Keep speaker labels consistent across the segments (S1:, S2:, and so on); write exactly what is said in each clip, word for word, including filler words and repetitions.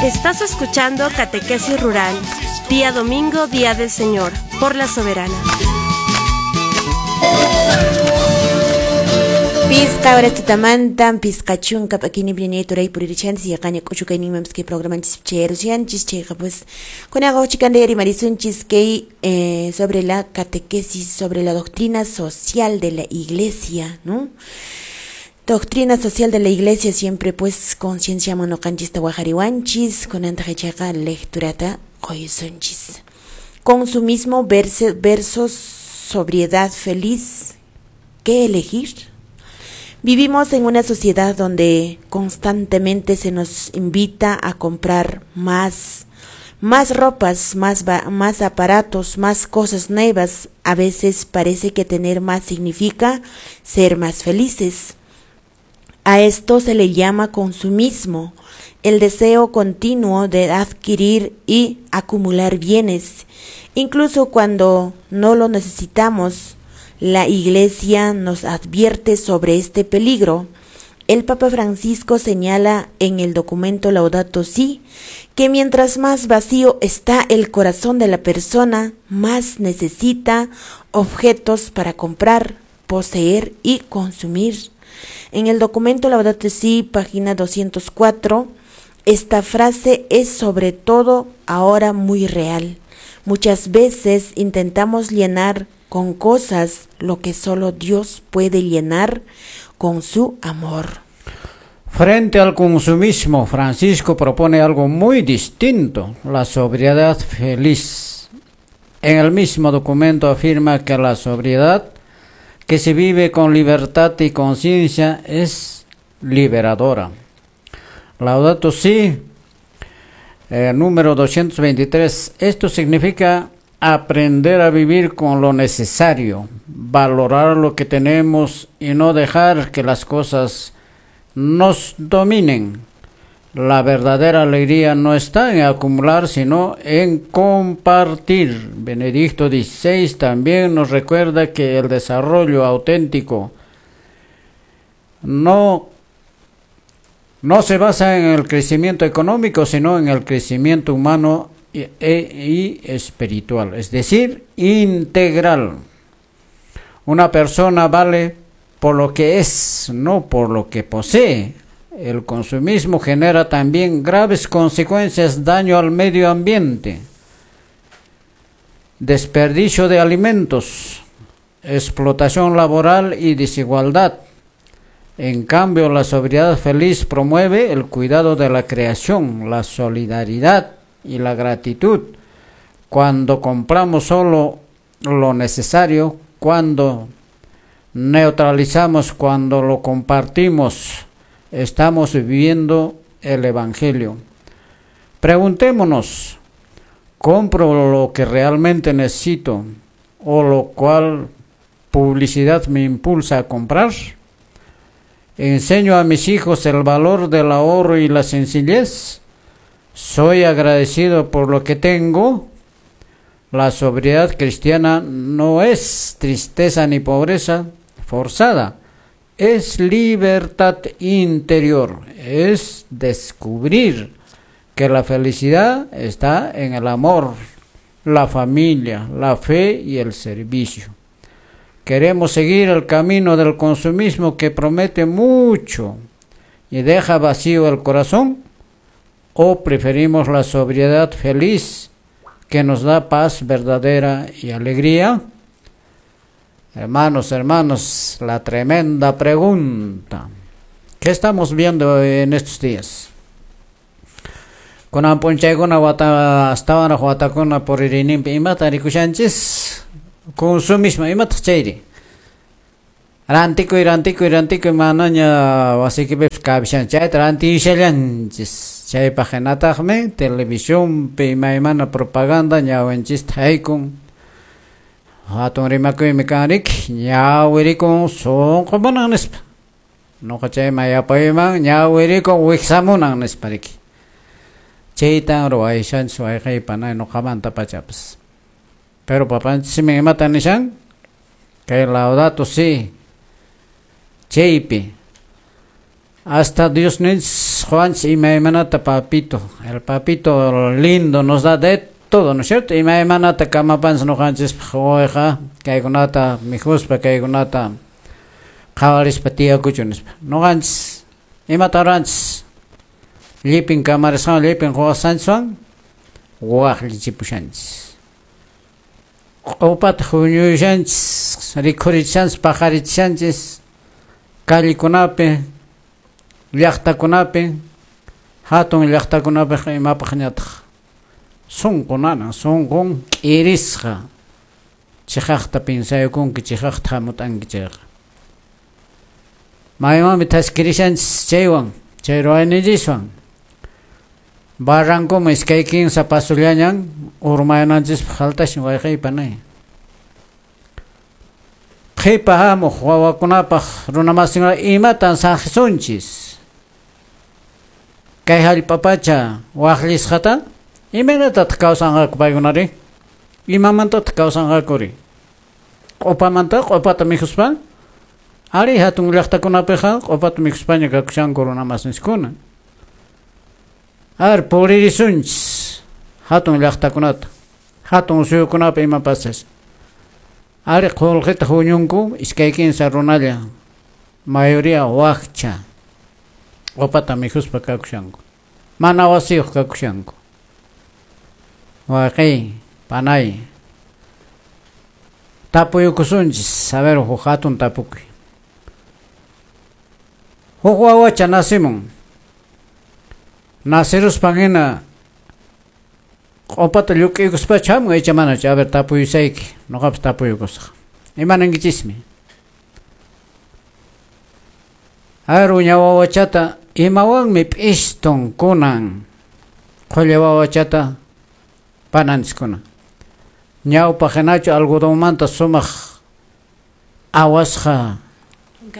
S1: Estás escuchando Catequesis Rural, día domingo, día del Señor, por la Soberana.
S2: Pisqa horas tutamantan, pisqa chunka p'akini turay puririchanchis yaqaña k'uchukayninmanpis kay programanchis chayarushanchis chayqa pues kunaqa huchikanta rimarisunchis kay eh, sobre la catequesis, sobre la doctrina social de la iglesia, ¿no? Doctrina social de la iglesia siempre pues conciencia ñuqanchista waqariwanchis kunantaq ichaqa lecturata quysunchis. Consumismo versus sobriedad feliz. ¿Qué elegir? Vivimos en una sociedad donde constantemente se nos invita a comprar más, más ropas, más, más aparatos, más cosas nuevas. A veces parece que tener más significa ser más felices. A esto se le llama consumismo, el deseo continuo de adquirir y acumular bienes, incluso cuando no lo necesitamos. La Iglesia nos advierte sobre este peligro. El Papa Francisco señala en el documento Laudato Si que mientras más vacío está el corazón de la persona, más necesita objetos para comprar, poseer y consumir. En el documento Laudato Si, página doscientos cuatro, esta frase es sobre todo ahora muy real. Muchas veces intentamos llenar con cosas lo que solo Dios puede llenar con su amor.
S3: Frente al consumismo, Francisco propone algo muy distinto, la sobriedad feliz. En el mismo documento afirma que la sobriedad que se vive con libertad y conciencia es liberadora. Laudato Si, eh, número doscientos veintitrés. Esto significa aprender a vivir con lo necesario, valorar lo que tenemos y no dejar que las cosas nos dominen. La verdadera alegría no está en acumular, sino en compartir. Benedicto dieciséis también nos recuerda que el desarrollo auténtico no, no se basa en el crecimiento económico, sino en el crecimiento humano y, y espiritual, es decir, integral. Una persona vale por lo que es, no por lo que posee. El consumismo genera también graves consecuencias, daño al medio ambiente, desperdicio de alimentos, explotación laboral y desigualdad. En cambio, la sobriedad feliz promueve el cuidado de la creación, la solidaridad y la gratitud. Cuando compramos solo lo necesario, cuando neutralizamos, cuando lo compartimos, estamos viviendo el Evangelio. Preguntémonos, ¿compro lo que realmente necesito o lo cual publicidad me impulsa a comprar? ¿Enseño a mis hijos el valor del ahorro y la sencillez? ¿Soy agradecido por lo que tengo? La sobriedad cristiana no es tristeza ni pobreza forzada, es libertad interior, es descubrir que la felicidad está en el amor, la familia, la fe y el servicio. Queremos seguir el camino del consumismo que promete mucho y deja vacío el corazón, o preferimos la sobriedad feliz que nos da paz verdadera y alegría. Hermanos, hermanos, la tremenda pregunta. ¿Qué estamos viendo en estos días? Kunan p'unchaykuna wata astawanraq watakuna puririnninpi imata rikushanchis? Consumismo, imataq chayri? Rantikuy, rantikuy, rantikuy, manaña wasiykipipis kabishan chayta rantishallanchis. Chaypaq hinataqmi televisionpi imaymana propaganda ñawinchista haykun. Hatun rimakuymi kan riki, ñawirikun sunqu munan nispa. Nuqa chayman yapayman ñawirikun wiksamunan nispa riki. Chaytan ruwayshanchis wayqaypa nuqamanta pachapas. Pero papanchismi imatan nishan? Kay Laudato Si chaypi Hasta Dios nos Juan imaymanata papito, el papito lindo nos da de todo, ¿no es cierto? Imaymanata kamapanchis ñuqanchispaq wawayqa kaykunata mikhuspa kaykunata qhawarispa tiyakuchun nispa. Ñuqanchis imata ruranchis llipin kamarisqan llipin quwasqanchiswan waqllichipushanchis. Q'upata huñuyushanchis, rikhurichishanchis, paqarichishanchis callekunapi, llaqtakunapi, hatun llaqtakunapiqa imapaqñataq sunqu nanan, sunqun k'irisqa chiqaqta pinsaykunki, chiqaqta hamut'anki chayqa. Maymanmi thaskirishanchis chaywan, chay ruwayninchiswan. Barrancoman iskay kinsa pasullañan urmayananchispaq faltashan wayqiypa panay. Qhipa hamuq wawakunapaq runamasinkuna imatan saqisunchis. Kay hallp'apacha waqllisqata imaynatataq kawsanqaku paykunari? Imamantataq kawsanqakuri? Q'upamanta q'upata mikhuspa? Ari hatun llaqtakunapiqa q'upata mikhuspaña kakushanku runamasinchiskuna. Ar puririsunchis hatun llaqtakunata, hatun suyukunapi ima pasas. Ari qullqita huñunku iskay kinsa runalla, mayoría wakcha, q'upata mikhuspa kakushanku, mana wasiyuq kakushanku. Wayqiy, panay, tapuyukusunchis, a ver, huk hatun tapukuy. Huk wawacha nasimun. Nasiruspan hina q'upata lluk'iykuspachu hamun icha manachu? A ver, tapuyusayki, ñuqapas tapuyukusaq. Imanankichismi? A ver, uña wawachata imawanmi p'istun kunan qhulla wawachata pananchiskuna? Ñawpaq hinachu algodonmanta sumaq awasqa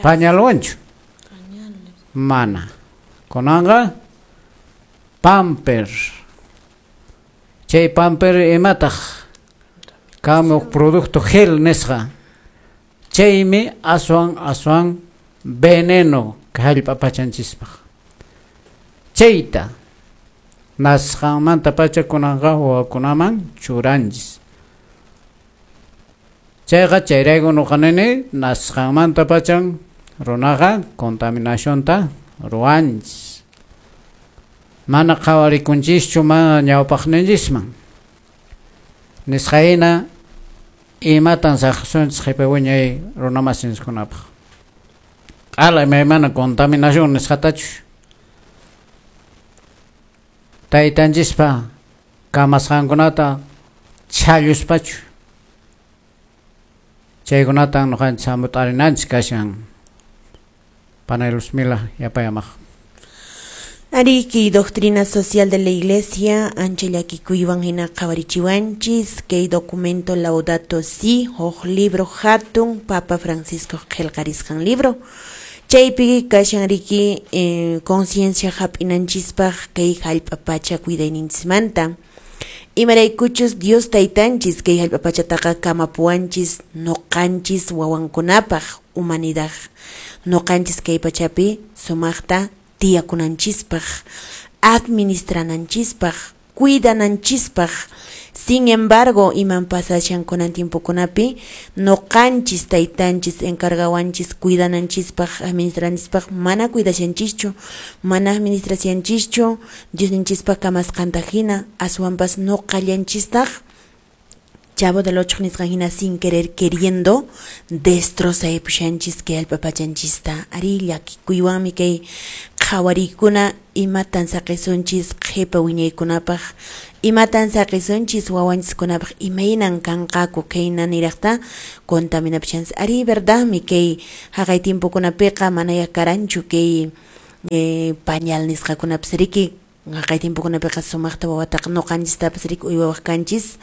S3: pañalwanchu? Mana. Kunanqa pamper. Chay pamper imataq kamuq producto gel nisqa. Chaymi aswan aswan veneno hallp'a pachanchispaq. Chayta nasqanmanta pacha kunanqa wawakunaman churanchis. Chayqa chayrayku ñuqa nini nasqanmanta pachan runaqa contaminacionta ruwanchis. Mana qhawarikunchischu mana ñawpaqninchisman. Nisqahina imatan saqisunchis qhipa wiñay runamasinchikkunapaq. Q'ala imaymana contaminación nisqatachu taytanchispa kamasqankunata chhalluspachu chaykunatan ñuqanchis hamut'arinanchis kashan. Panay Luzmila yapayamaq.
S2: Ariki, doctrina social de la Iglesia, ancha llakikuywan hina qhawarichiwanchis, kay documento Laudato Si, huk libro hatun, Papa Francisco qillqarisqan libro. Chaypi kashan riki eh, conciencia hap'inanchispaq kay hallp'a pacha cuidayninchismanta. Imaraykuchus Dios taytanchis kay hallp'a pachataqa kamapuwanchis ñuqanchis wawankunapaq humanidad. Ñuqanchis kay pachapi sumaqta tiyakunanchispaq, administrananchispaq, cuidananchispaq. Sin embargo, iman pasashan kunan tiempokunapi, ñuqanchis taytanchis encargawanchis cuidananchispaq, administrananchispaq, mana cuidashanchischu, mana administrashanchischu, Diosninchispaq kamasqanta hina, aswanpas ñuqallanchistaq Chavo del Ocho nisqan hina sin querer queriendo destrozaypushanchis kay hallp'a pachanchista. Ari llakikuywanmi kay qhawarikuna imatan saqisunchis qhipa wiñaykunapaq, imatan saqisunchis wawanchiskunapaq, imaynan kanqaku kayna niraqta contaminapushanchis. Ari verdadmi kay haqay tiempokunapiqa manaya karanchu kay eh, pañal nisqakunapas riki. Haqay tiempokunapiqa sumaqta wawataqa ñuqanchistapas riki uywawaq kanchis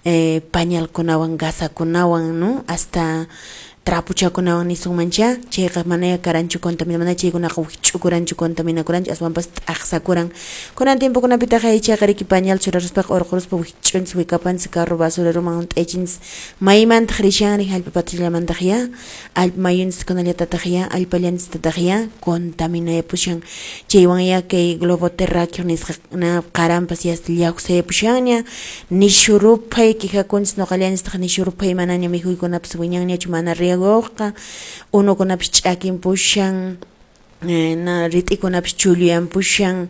S2: eh, pañalkunawan gasakunawan, ¿no? Hasta Trapuchakunawan nisunmancha chayqa manaya karanchu contamina mana chaykunaqa wikch'ukuranchu contaminakuranchu aswanpas t'aqsakuran kunan tiempokunapitaq chayqa riki pañal churaruspaqa urquruspa wikch'unchis wikapanchis carro basureroman hunt'aychinchis maymantaq rishanri hallp'a patrillamantaq ya allpa mayunchiskunallatataq ya allpallanchistataq ya contaminayapushan chaywan ya kay globo terráqueo nisqa qaranpas ya llawsayapushanña nishu ruphay quejakunchis nuqallanchistaq nishu ruphay manaña mikhuykunapas wiñanñachu mana riego unukunapis ch'akinpushan na rit'ikunapis chulluyanpushan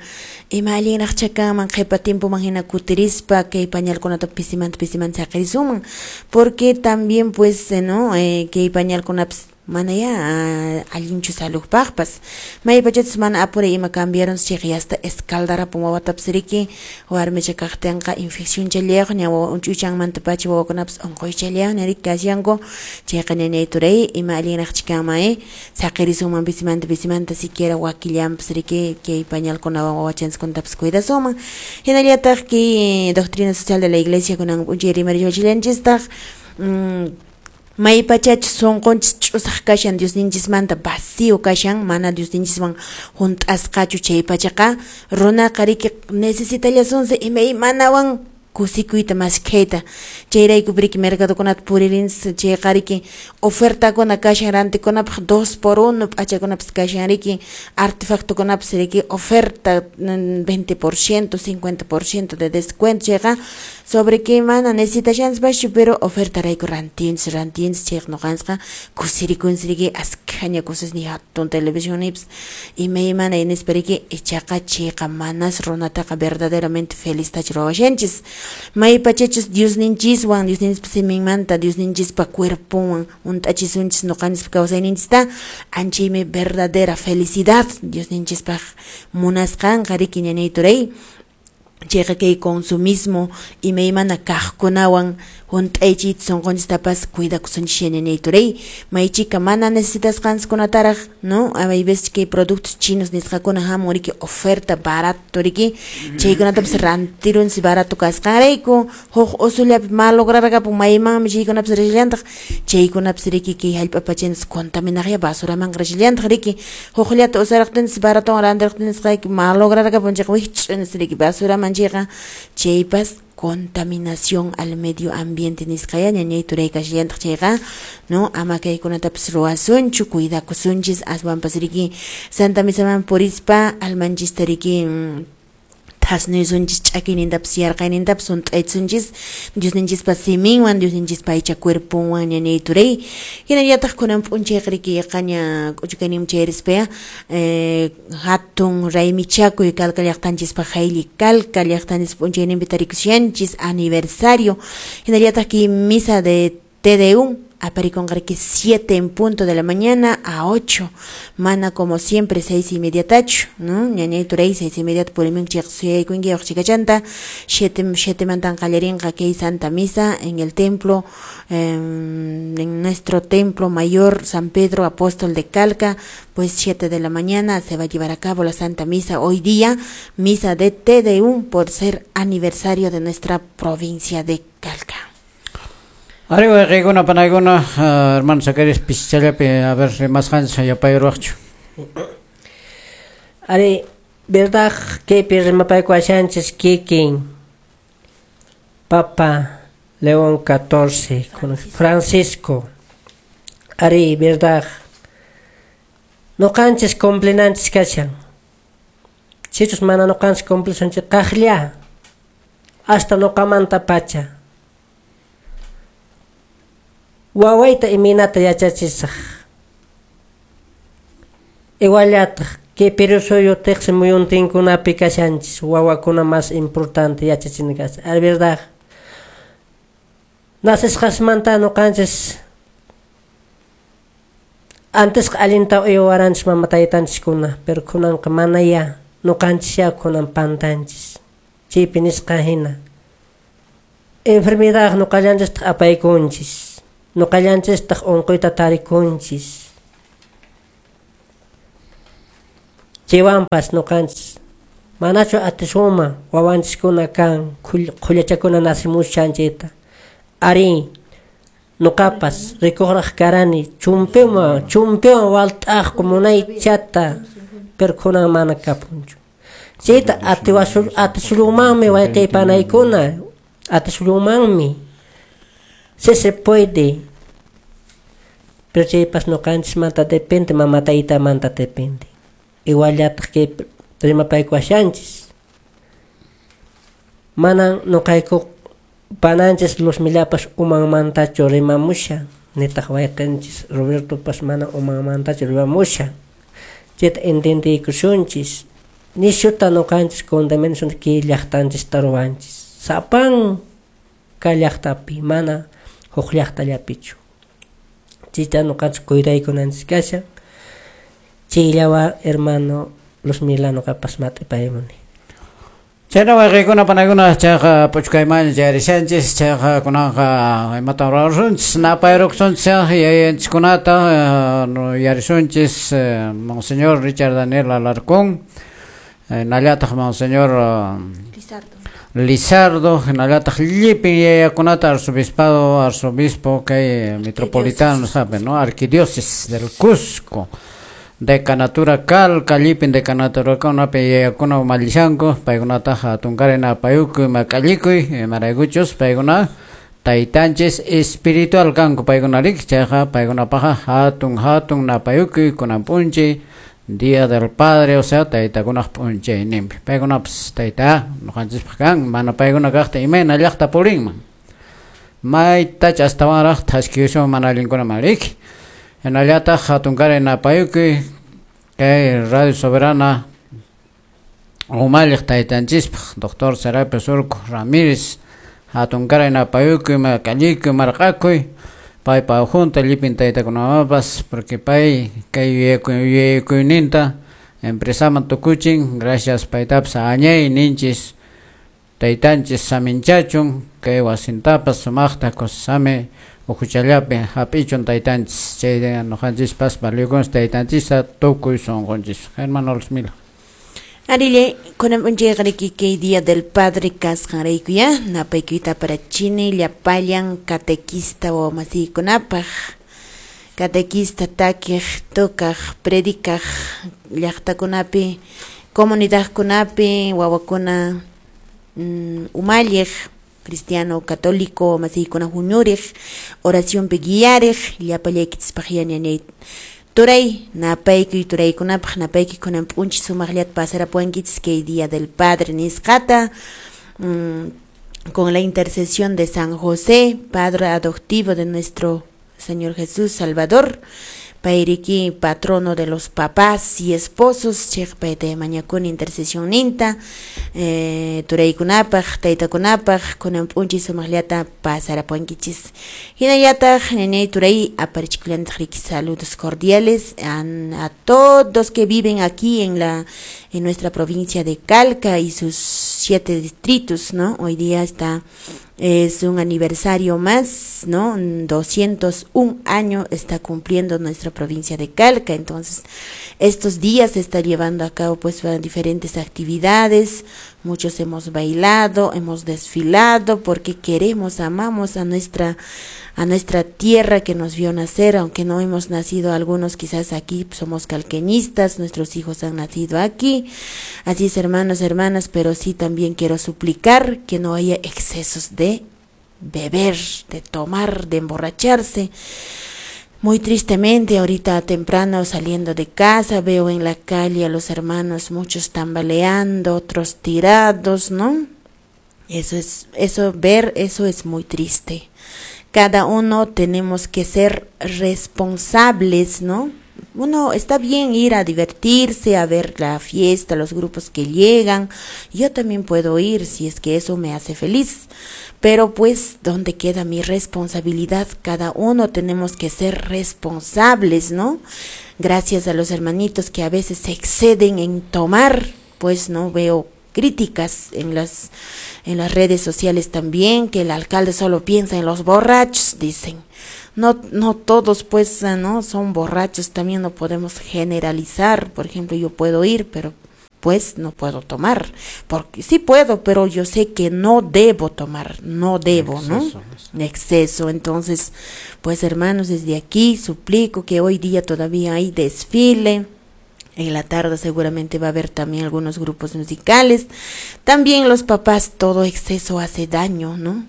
S2: ima allinraqcha kanman qhipa tiempoman hina kutirispa kay pañalkunata pisimanta pisimanta saqirisunman porque también pues no eh, kay pañalkunapas mana ya allinchu saludpaqpas maypachachus mana apuray ima cambiaron chayqa yasta escaldarapun wawatapas riki warmicha kaqtinqa infección challayuq ña wawa uch'uychanmantapacha wawakunapas unquychallayuq riki kashanku chayqa ñañay turay ima allinraqcha kanman eh saqirisunman pisimanta pisimanta siquiera wakillanpas riki kay pañalkunawan wawachanchikkunatapas cuidasunman hinallataq kay doctrina social de la iglesia kunan p'unchay rimariwachillanchistaq maypachachus sunqunchis ch'usaq kashan Diosninchismanta vacío kashan mana Diosninchiswan hunt'asqachu chaypachaqa runaqa riki necesitallasunsi imaymanawan kusikuyta maskhayta chayrayku riki mercadokunata puririnchis chayqa riki ofertakuna kashan rantikunapaq dos por uno p'achakunapas kashan riki artefactokunapas riki oferta veinte por ciento, cincuenta por ciento de descuento chayqa sobre que mana necesitashanchis pero ofertarayku rantinchis rantinchis chayqa nuqanchisqa kusirikunchis riki askhaña cosas ni hatun televisionipas imaymana nispa riki ichaqa chayqa manas runataqa verdaderamente felistachu ruwashanchis maypachachus Diosninchiswan Diosninchispa siminmanta Diosninchispa cuerponwan hunt'achisunchis nuqanchispa kawsayninchista anchaymi verdadera felicidad Diosninchispaq munasqanqa riki ñañay turay chayqa kay consumismo imaymana kaqkunawan hunt'aychiyta sunqunchistapas cuidakusunchis ñañay turay maychika mana necesitasqanchikkunataraq no hay veces kay productos chinos nisqakuna hamun riki oferta barato riki chaykunatapas rantirunchis barato kasqanrayku huk usullapi malograrqapun maymanmi chaykunapas rishallantaq chaykunapas riki kay hallp'a pachanchis contaminaqya basuramanqa rishallantaq riki hukllata usaraqtinchis baratowan rantirqtinchisqa malograrqapun chayqa wikch'unchis riki basuraman chayqa chaypas contaminación al medio ambiente nisqaya ñañay turay kashallantaq chayqa no ama kaykunatapas ruwasunchu cuidakusunchis aswanpas riki Santa Misaman purispa almanchista riki thasnuysunchis ch'akiynintapas yarqaynintapas hunt'aysunchis Diosninchispa siminwan Diosninchispa aycha cuerponwan ñañay turay hinallataq kunan p'unchayqa riki yaqaña k'uchukayninman chayarispaya eh, hatun raymichakuy Calca llaqtanchispaq haylli Calca llaqtanchispa p'unchayninpi tarikushanchis aniversario hinallataq kay misa de Te Deum apariconqa riki siete en punto de la mañana a ocho mana como siempre seis y media tachu no ñañay turay seis y media purimin chayqa suyaykunki chikachanta siete siete mantan qallarinqa kay Santa Misa en el templo eh, en nuestro templo mayor San Pedro Apóstol de Calca pues siete de la mañana se va a llevar a cabo la Santa Misa hoy día misa de Te Deum por ser aniversario de nuestra provincia de Calca.
S3: Arriba wayqikuna panaykuna uh, hermano Zacarías pischallapi a ver rimasqanchis yapayruwaqchu.
S4: Ari verdad kaypi rimapaykuwashanchis kikin Papa León catorce con Francisco. Ari verdad nuqanchis cumplinanchis kashan sichus mana nuqanchis cumplisunchis qaqlla hasta nuqamanta pacha wawayta imaynata yachachisaq iguallataq kay Perú suyu tiqsi muyuntinkunapi kashanchis wawakuna más importante yachachina kashan ari verdad nasisqasmanta nuqanchis antes allinta uywaranchis mama taytanchiskuna pero kunanqa manaya nuqanchis ya kunan pantanchis chaypi nisqa hina enfermedad nuqallanchistaq apaykunchis nuqallanchistaq unquyta tarikunchis chaywanpas nuqanchis manachu atisuma wawanchiskuna kan qhullachakuna nasimushan chayta ari Nuqapas rikuqraq karani chumpiwan chumpiwan walt'aqku munaychata, pero kunan mana kapunchu. Chayta atiwasul atisulunmanmi wayqi panaykuna, atisulunmanmi. Sí se puede. Pero chaypas nuqanchismanta depende, mama taytamanta depende. Iguallataq kay rimapaykuwashanchis. Manan nuqayku pananchis Luzmilapas umanmantachu rimamushan, nitaq wayqinchis Robertopas mana umanmantachu rimamushan. Chayta entendiykusunchis. Nishuta nuqanchis contaminación kay llaqtanchista ruwanchis. Sapanka llaqtapi, mana huk llaqtallapichu. Chayta nuqanchis cuidaykunanchis kashan. Chayllawa hermano Luzmila nuqapas mat'ipaymuni.
S3: Chayna wayqikuna panaykuna chayqa p'uchukayman chayarishanchis, chayqa kunanqa imatan ruwasunchis, napayrukusunchis yayanchikkunata yarisunchis Monseñor Richard Daniel Alarcón, hinallataq Monseñor
S2: Lizardo,
S3: Lizardo, hinallataq llipin yayakunata arzobispado, arzobispo kay metropolitano, sabe, ¿no? Arquidiócesis del Cusco. Decanatura Calca, llipin decanatura kunapi yayakuna umallishanku, paykunataqa hatunkaray napayukuy mak'allikuy, imaraykuchus paykuna taytanchis espiritual kanku paykunariki, chayqa paykunapaqa hatun hatun napayukuy kunan p'unchay Día del Padre, o sea, taytakunaq p'unchayninpi. Paykunapas tayta nuqanchispaq kan, mana paykuna kaqta imayna llaqta purinman. Maytacha astawanraq thaskiyusun mana allinkunaman riki. Hinallataq hatunkaray napayukuy kay Radio Soberana umalliq taytanchispaq Doctor Serapio Surco Ramírez, hatunkaray napayukuy mak'allikuy marq'akuy paypa junta llipin taytakunamanpas, porque pay kay yuyakuyninta empresaman tukuchin, gracias paytapas añay ninchis taytanchis saminchachun kay wasintapas sumaqta kusisami uhuchallapi hap'ichun taytanchis, chay nuqanchispas valiyukunchis taytanchista tukuy sunqunchis. Hermano Luzmila.
S2: Arile, kunan p'unchayqa riki kay Día del Padre kasqanraykuya, napaykuyta parachini llapallan catequista wawamasiykunapaq, catequista takiq, tocaq, predicaq llaqtakunapi, comunidadkunapi, wawakuna mm, umalliq, cristiano católico masiykuna huñuriq, oracionpi guiariq, llapallaykichispaq yanyanay turay, napaykuy turaykunapaq, napaykuy kunan p'unchay sumaqllata pasarapuwankichis kay Día del Padre nisqata, mm, con la intercesión de San José, padre adoptivo de nuestro Señor Jesús Salvador, payriki patrono de los papás y esposos, chayqa payta mañakuni intercesión ninta, eh, turaykunapaq, taytakunapaq, kunan p'unchay sumaqllata pasarapuwankichis. Hinallataq ñañay turay aparichikullantaq riki saludos cordiales a, a todos que viven aquí en la en nuestra provincia de Calca y sus siete distritos, ¿no? Hoy día está es un aniversario más, ¿no? doscientos un año está cumpliendo nuestra provincia de Calca. Entonces, estos días se está llevando a cabo pues diferentes actividades. Muchos hemos bailado, hemos desfilado porque queremos, amamos a nuestra a nuestra tierra que nos vio nacer, aunque no hemos nacido algunos quizás aquí, somos calqueñistas, nuestros hijos han nacido aquí. Así es, hermanos, hermanas, pero sí también quiero suplicar que no haya excesos de beber, de tomar, de emborracharse. Muy tristemente, ahorita temprano saliendo de casa, veo en la calle a los hermanos, muchos tambaleando, otros tirados, ¿no? Eso es, eso, ver, eso es muy triste. Cada uno tenemos que ser responsables, ¿no? Uno está bien ir a divertirse, a ver la fiesta, los grupos que llegan. Yo también puedo ir si es que eso me hace feliz. Pero pues, ¿dónde queda mi responsabilidad? Cada uno tenemos que ser responsables, ¿no? Gracias a los hermanitos que a veces se exceden en tomar, pues no veo críticas en las en las redes sociales también, que el alcalde solo piensa en los borrachos, dicen. No, no todos pues no son borrachos, también no podemos generalizar. Por ejemplo, yo puedo ir, pero Pues no puedo tomar, porque sí puedo, pero yo sé que no debo tomar, no debo,
S3: Exceso,
S2: ¿no? Exceso. Entonces, pues hermanos, desde aquí suplico que hoy día todavía hay desfile. En la tarde seguramente va a haber también algunos grupos musicales. También los papás, todo exceso hace daño, ¿no?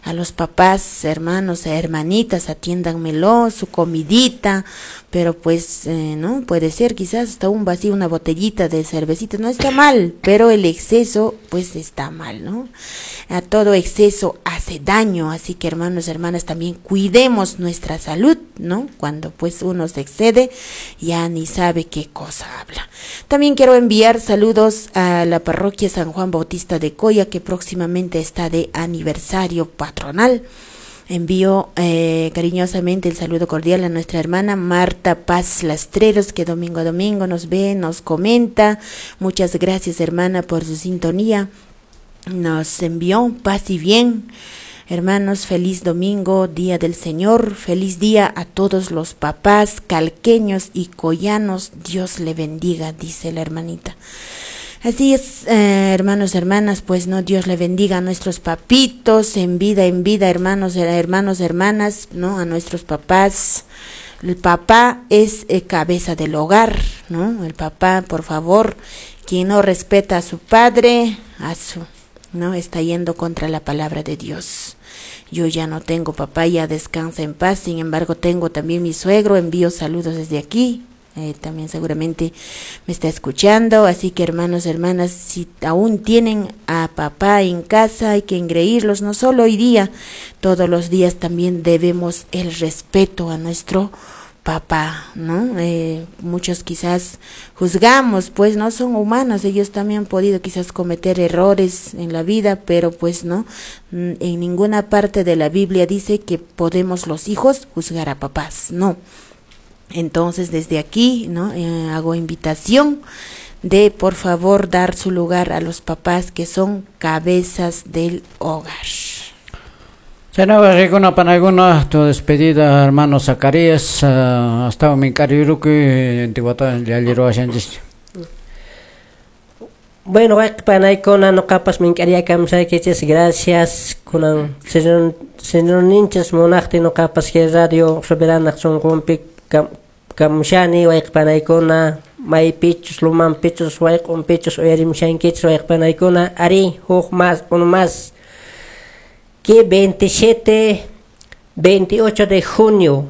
S2: A los papás, hermanos, hermanitas, atiéndanmelo, su comidita, pero pues, eh, ¿no? Puede ser quizás hasta un vacío, una botellita de cervecita, no está mal, pero el exceso, pues está mal, ¿no? A todo exceso hace daño, así que hermanos, hermanas, también cuidemos nuestra salud, ¿no? Cuando pues uno se excede, ya ni sabe qué cosa habla. También quiero enviar saludos a la parroquia San Juan Bautista de Coya, que próximamente está de aniversario patronal. Envío eh, cariñosamente el saludo cordial a nuestra hermana Marta Paz Lastreros, que domingo a domingo nos ve, nos comenta. Muchas gracias, hermana, por su sintonía. Nos envió paz y bien. Hermanos, feliz domingo, día del Señor. Feliz día a todos los papás calqueños y coyanos. Dios le bendiga, dice la hermanita. Así es, eh, hermanos, hermanas, pues no, Dios le bendiga a nuestros papitos en vida, en vida, hermanos, hermanos, hermanas, ¿no? A nuestros papás. El papá es eh, cabeza del hogar, ¿no? El papá, por favor, quien no respeta a su padre, a su, ¿no? Está yendo contra la palabra de Dios. Yo ya no tengo papá, ya descansa en paz, sin embargo tengo también mi suegro, envío saludos desde aquí. Eh, también seguramente me está escuchando, así que hermanos, hermanas, si aún tienen a papá en casa, hay que engreírlos, no solo hoy día, todos los días también debemos el respeto a nuestro papá, ¿no? Eh, muchos quizás juzgamos, pues no son humanos, ellos también han podido quizás cometer errores en la vida, pero pues no, en ninguna parte de la Biblia dice que podemos los hijos juzgar a papás, no. Entonces desde aquí, ¿no? Eh, hago invitación de por favor dar su lugar a los papás que son cabezas del hogar.
S3: Chaynaqa rikuna panaykuna tu despedida hermano Zacarías uh, hasta mink'arirukuy intiwata llalliruwashanchis.
S4: Bueno, panaykuna nuqapas mink'ariyakamsaykichis gracias kunan señor señor ninchis munaqtin nuqapas kay radio soberana sunqunpi kam kamushani wayqipanaykuna maypichus lumanpichus wayq'unpichus uyarimushankichis wayqipanaykuna ari huk más uno más que veintisiete veintiocho de junio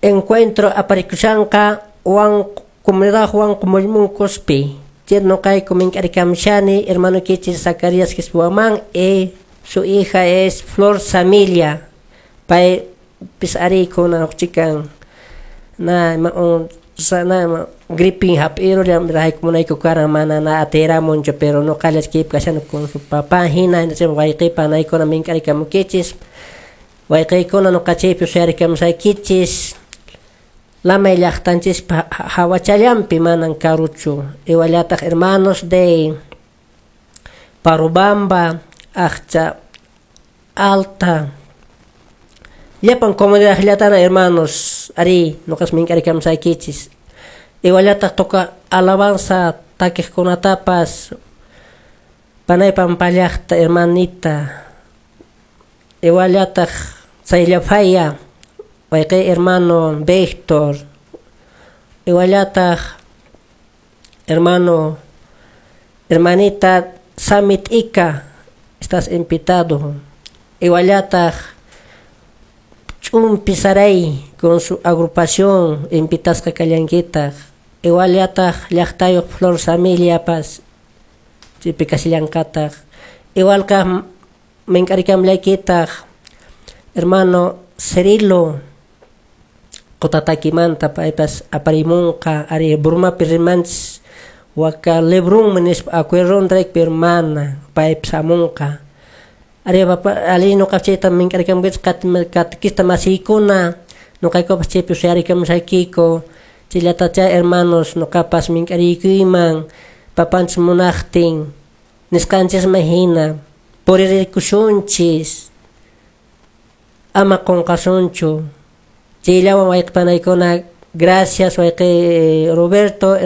S4: encuentro aparikushanqa Juan comunidad Juan Mullmunkuspi chay nuqayku mink'arikamshani hermano kichis Zacarías Quispuamán y su hija es Flor Samilia pay pis ari kuna chikan na ma un sana gripin hap'irullam rahaykumunayku karan mana na atiramunchu pero nuqalla kaypi kashani con su papá hina wayqiypa panaykuna mink'arikamukichis wayqiykuna nuqa chaypi suyarikamusaykichis lamay llaqtanchispa hawachallanpi manan karuchu iguallataq hermanos de Parubamba Aqcha Alta llapan comunidad llatana hermanos ari nuqas mink'arikamusaykichis iguallataq toca alabanza takiqkunatapas panaypan pallaqta hermanita iguallataq tsayllafaya wayqiy hermano Víctor iguallataq hermano hermanita Samit Ika estás invitado iguallataq Ch'umpi Saray con su agrupación invitasqa kallankitaq iguallataq llaqtayuq Flor Samiliapas chaypi kashillankataq igual kaq mink'arikamllaykitaq hermano Cirilo Qutatakimanta paypas aparimunqa ari Burmapi rimanchis waka Lebrunmi nispa acuerdo hermana paypas hamunqa ari papa ali nuqa chayta mink'arikamuykichis katikista masiykuna nuqaykupas chaypi suyarikamusaykiku chayllatacha hermanos nuqapas mink'ariykuyman papanchis munaqtin nisqanchisman hina puririkusunchis ama qunqasunchu chayllawan wayqipanaykuna gracias wayqi Roberto.